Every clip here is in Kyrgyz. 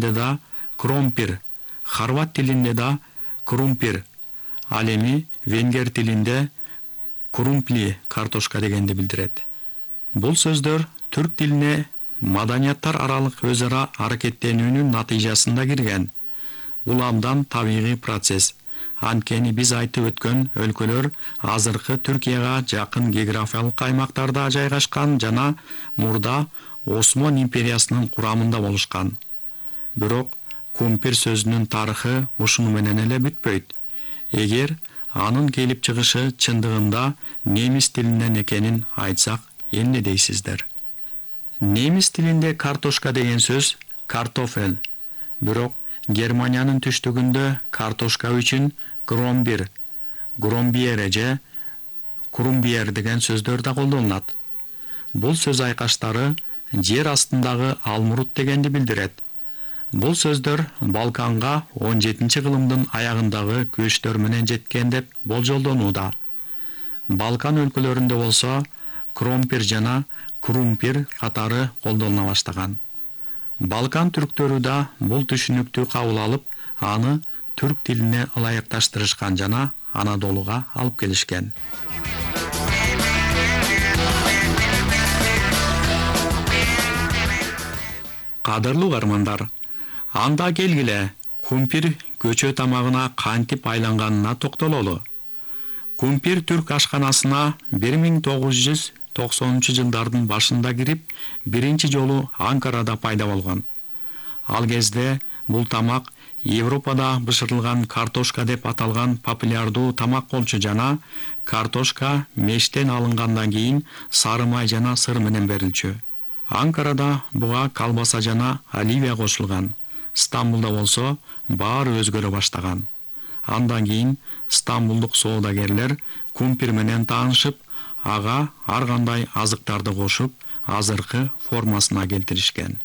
тилинде да кромпир, хорват тилинде да крумпир, ал эми венгер тилинде крумпли картошка дегенди билдирет. Бул сөздөр түрк тилине маданияттар аралык өз ара аракеттенүүнүн натыйжасында кирген. Бул абдан табигый процесс. Анткени биз айтып өткөн өлкөлөр азыркы Түркияга жакын географиялык аймактарда жайгашкан жана мурда Осман империясынын курамында болушкан. Бирок кумпир сөзүнүн тарыхы ушуну менен эле бүтпөйт. Эгер анын келип чыгышы чындыгында немис тилинен экенин айтсак, эмне дейсиздер? Немис тилинде картошка деген сөз картофель. Бирок Германиянын түштүгүндө картошка үчүн кромбир, громбиере же крумбиер деген сөздөр да колдонулат. Бул сөз айкаштары жер астындагы алмурут дегенди билдирет. Бул сөздөр Балканга 17-кылымдын аягындагы көчтөр менен жеткен деп болжолдонууда. Балкан өлкөлөрүндө болсо кромпир жана крумпир катары колдонула баштаган. Балкан түрктөрү да бул түшүнүктү кабыл алып, аны түрк тилине ылайыкташтырышкан жана Анадолуга алып келишкен. Кадырлуу угармандар, анда келгиле кумпир көчө тамагына кантип айланганына токтололу. Кумпир түрк ашканасына 1990-жылдардын башында кирип, биринчи жолу Анкарада пайда болгон. Ал кезде бул тамак Европада бышырылган картошка деп аталган популярдуу тамак болчу жана картошка мештен алынгандан кийин сары май жана сыр менен берилчү. Анкарада буга колбаса жана оливия кошулган. Стамбулда болсо баары өзгөрө баштаган. Андан кийин стамбулдук соодагерлер кумпир менен таанышып, ага ар кандай азыктарды кошуп, азыркы формасына келтиришкен.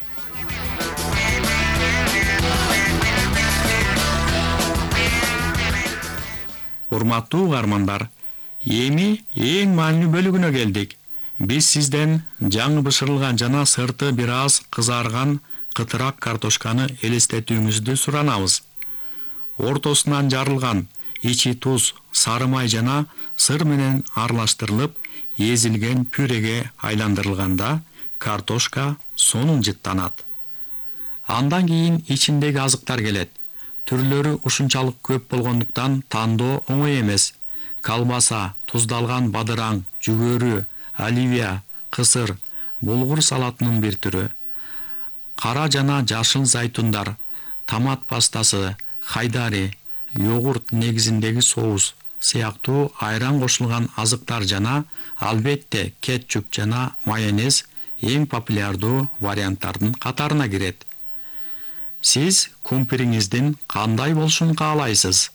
Урматтуу угармандар, эми эң маанилүү бөлүгүнө келдик. Биз сизден жаңы бышырылган жана сырты бир аз кызарган кытырак картошканы элестетүүңүздү суранабыз. Ортосунан жарылган, ичи туз, сары май жана сыр менен аралаштырылып, эзилген пюреге айландырылганда картошка сонун жыттанат. Андан кийин ичиндеги азыктар келет. Түрлөрү ушунчалык көп болгондуктан тандоо оңой эмес. Колбаса, туздалган бадыраң, жүгөрү, оливия, кысыр, булгур салатынын бир түрү. Кара жана жашыл зайтундар, томат пастасы, хайдари, йогурт негизиндеги соус сыяктуу айран кошулган азыктар жана албетте кетчуп жана майонез эң популярдуу варианттардын катарына кирет. Сиз кумпириңиздин кандай болушун каалайсыз?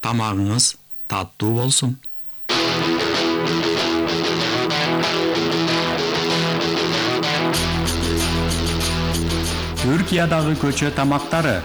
Тамагыңыз таттуу болсун. Түркиядагы көчө тамактары